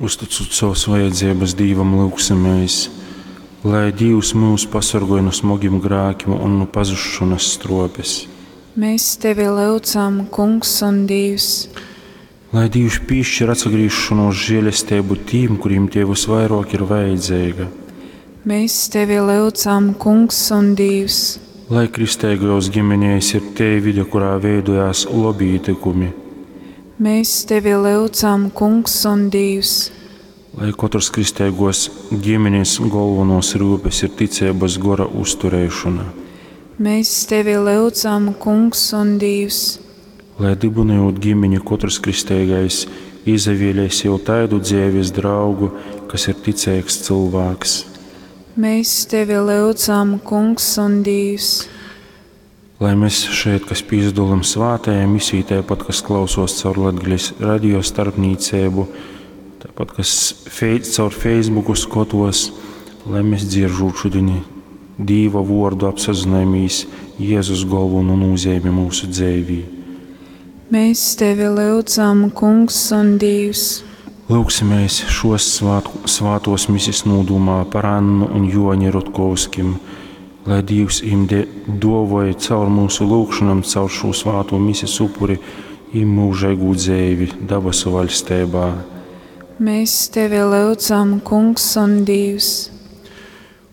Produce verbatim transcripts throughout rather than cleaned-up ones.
Uzticūt savas vajadzības Dīvam, lyugsimies, lai Dīvs myus pasorgoj nu smogim grākim un nu pazusšonas struopes. Mēs tevi lyudzam, Kungs un Dīvs. Lai Dīvs pīšķir atsagrīzšanos žēlestību tīm, kuriem tie visvairāk ir vajadzīga. Mēs tevi lyudzam, Kungs un Dīvs. Lai kristeigajos ģimenēs ir tei vide, kurā veidojās lobi ītykumi. Mēs tevi lyudzam, Kungs un Dīvs. Lai katrs kristeigos ģimenes galvenos rūpes ir ticības gora uzturēšana. Mēs tevi lyudzam, Kungs un Dīvs. Lai dibinojot ģimeni, katrs kristeigais izavēlēs jau tādu dzīves draugu, kas ir ticīgs cilvēks. Mēs tevi lyudzam, Kungs un Dīvs. Lai mēs šeit, kas pīzdolam svātajā misijā, tāpat, kas klausos caur Latgales radio starpnīcību, tāpat, kas fei, caur Facebooku skatos, lai mēs dzieržot šodien Dīva vordu apsazināmies Jēzus galveno nozīmi mūsu dzīvī. Mēs tevi lyudzam, Kungs un Dīvs. Lūgsimies šos svātku, svātos misis nūdūmā par Annu un Joni Rutkovskim, lai Dīvs im de, dovoja caur mūsu lūgšanām, caur šo svāto misis upuri, im mūžīgu dzēvi dabasu vaļstībā. Mēs tevi lyudzam, Kungs un Dīvs.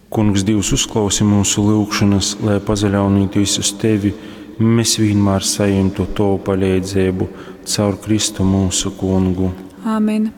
Kungs Dīvs uzklausi mūsu lūgšanas, lai pazaļaunīties uz tevi, mēs vienmēr saņemtu tavu palīdzību caur Kristu mūsu kungu. Āmen.